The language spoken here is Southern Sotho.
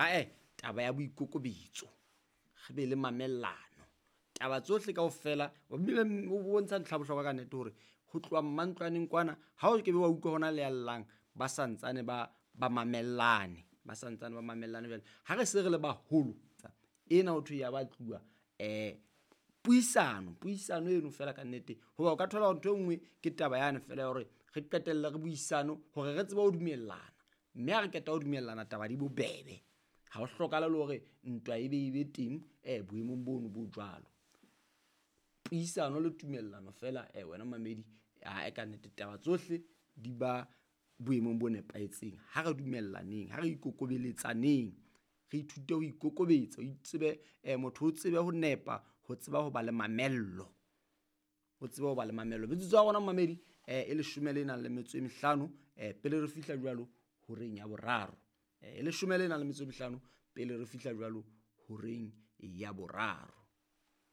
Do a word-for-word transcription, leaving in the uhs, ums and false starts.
Ae, taba ya boikokobetso, re be le mamellano. Taba tsohle kaofela o bile o bontsha ntlha ya bohlokwa ka nnete hore ho tloha mantlwaneng kwana ha o kebe wa utlwa hona le ya llang, ba santsane ba ba mamellane, ba santsane ba mamellane. Jwale ha re se re le baholo ena ho thwe ya batluwa um puisano, puisano eno fela ka nnete. Hoba o ka thola hore ntho e nngwe ke taba yane fela ya hore re qetelle re buisano hore re tsebe ho dumellana, mme ha re qeta ho dumellana taba di bobebe. Ha ho hlokahale le hore ntwa e be e be teng um boemong bono bo jwalo. Puisano le tumellano fela um wena momamedi, ae kannete taba tsohle di ba boemong bo nepahetseng. Ha re dumellaneng, ha re ikokobeletsaneng, re ithute ho ikokobetsa, o itsebe motho o tsebe ho nepa, ho tseba ho ba le mamello, o tsebe ho ba le mamello. Metsotso ya rona momamedi um e leshome le nang le metso e mehlano um pele re fihla jwalo horeng ya boraro. E leshome le nang le metso e mehlano pele re fihla jwalo horeng ya boraro.